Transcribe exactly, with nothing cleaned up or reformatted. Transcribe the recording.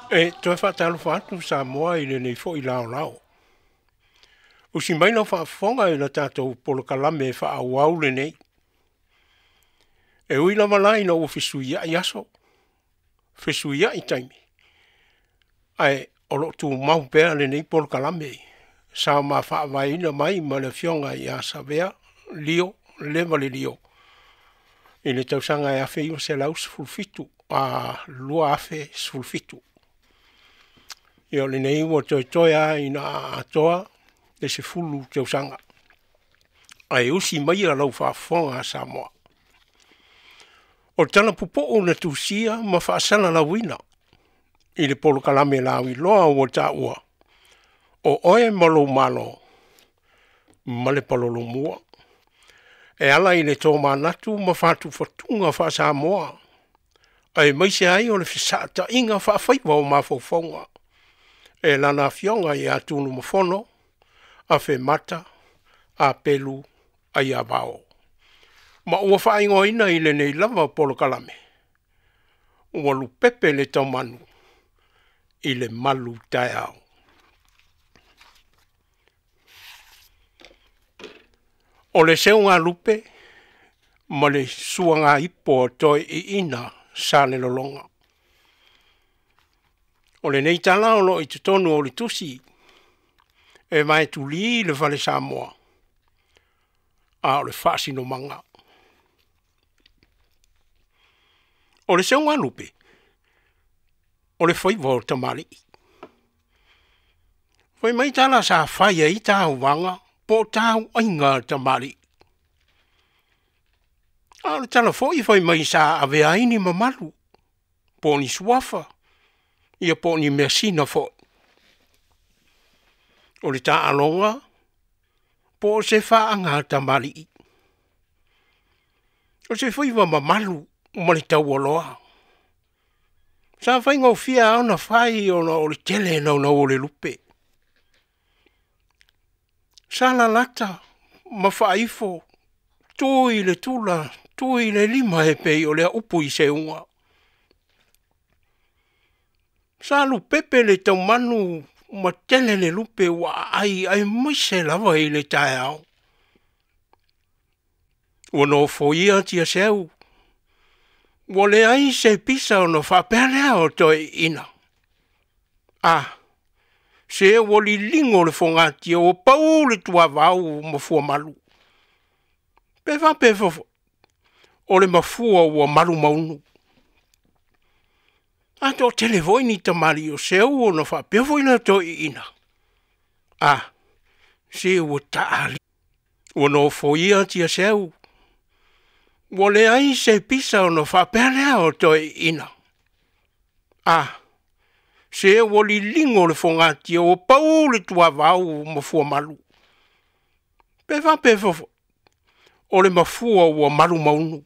E toe faatalofa atu Samoa i lenei foi laolao. Usi mai lau faafofoga i le tatou polokalame faaauau lenei. E ui lava la ina ua fesuiai aso, fesuiai taimi, ae o loo tumau pea lenei polokalame sa ma faavaeina mai ma le afioga ia Savea Lio Leva le Lio i le tausaga e afe iva selau sefulu fitu a lua afe sefulu fitu. Ia o lenei ua toetoe lava ina atoa le sefulu tausaga. Ae usi maia lau faafofoga Samoa. O le tala pupuu na tusia ma faasalalauina i le polokalame lauiloa ua taua, o oe ma lou Malo ma le palolomua. E ala i le tōmanatu ma whātufatuga whaasamoa, aemaise ai o le fesaataiga faafaiva o mafaufauga. E lana afioga ia Tunumafono, Afemata, Apelu, Aiavao. Ma ua faaigoaina i lenei lava polokalame, ua lupepe le taumanu i le malu taeao. O le seuga lupe ma le suaga ipo o toe iina sa le lologa. O lenei tala o loo i totonu o le tusi e vaetulī le fale Samoa, a o le faasinomaga. O le seuga lupe, o le faiva o tamalii. Fai mai tala sa fai ai tauvaga po o tauaiga a tamalii. A o le tala foi fai mai sa avea ai ni mamalu, po o ni suafa, ia po o ni measina foi. O le taaloga po o se faaga tamalii. O se faiva mamalu ma le taualoa. Sa faigofie lava ona fai ona o le tele naunau o le lupe. Sa lalata ma faaifo, tu i le tula, tu i le lima e pei o lea upu i seuga. Sa lupepe le taumanu ma tele le lupe ua aai aemaise lava i le taeao. Ua nofoia Tiaseu, ua leai se pisa ona faapea lea o toe iina. A, se ua liligo le fogatia ua pau le tuavao ma fuamalu. Pe faapea fofo, o le mafua ua malu maunu. A toatele foi ni tamalii o seu ona faapea foi lea o toe iina. A, se ua taali. Ua nofoia Tiaseu, ua leai se pisa ona faapea lea o toe iina. A, se ua liligo le fogatia ua pau le tuavao ma fuamalu. Pe faapea fofo, o le mafua ua malu maunu.